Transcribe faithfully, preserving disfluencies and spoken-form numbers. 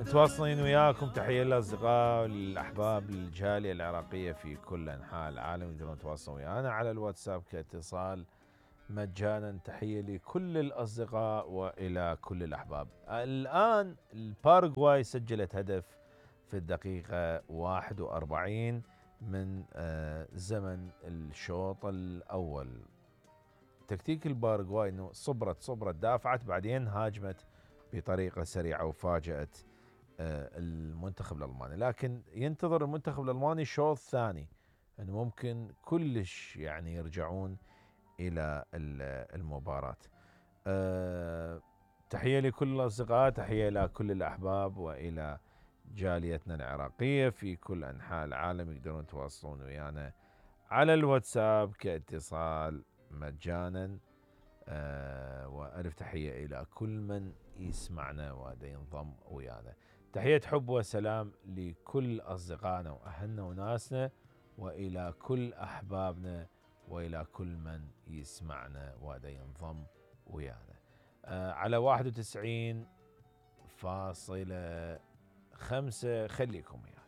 متواصلين وياكم. تحية للأصدقاء والأحباب الجالية العراقية في كل أنحاء العالم، يقدرون يتواصلون ويانا على الواتساب كاتصال مجانا. تحية لكل الأصدقاء وإلى كل الأحباب. الآن الباراغواي سجلت هدف في الدقيقة واحد وأربعين من زمن الشوط الأول. تكتيك الباراغواي انه صبرت صبرت دافعت بعدين هاجمت بطريقة سريعة وفاجأت المنتخب الألماني، لكن ينتظر المنتخب الألماني شوط ثاني انه ممكن كلش يعني يرجعون إلى المباراة. تحية لكل الأصدقاء، تحية إلى كل الأحباب وإلى جاليتنا العراقية في كل أنحاء العالم. يقدرون يتواصلون ويانا على الواتساب كاتصال مجانا. أه وألف تحية إلى كل من يسمعنا ودا ينضم ويانا. تحية حب وسلام لكل أصدقائنا وأهلنا وناسنا وإلى كل أحبابنا وإلى كل من يسمعنا ودا ينضم ويانا. أه على واحد وتسعين فاصلة خمسة خليكم ويانا.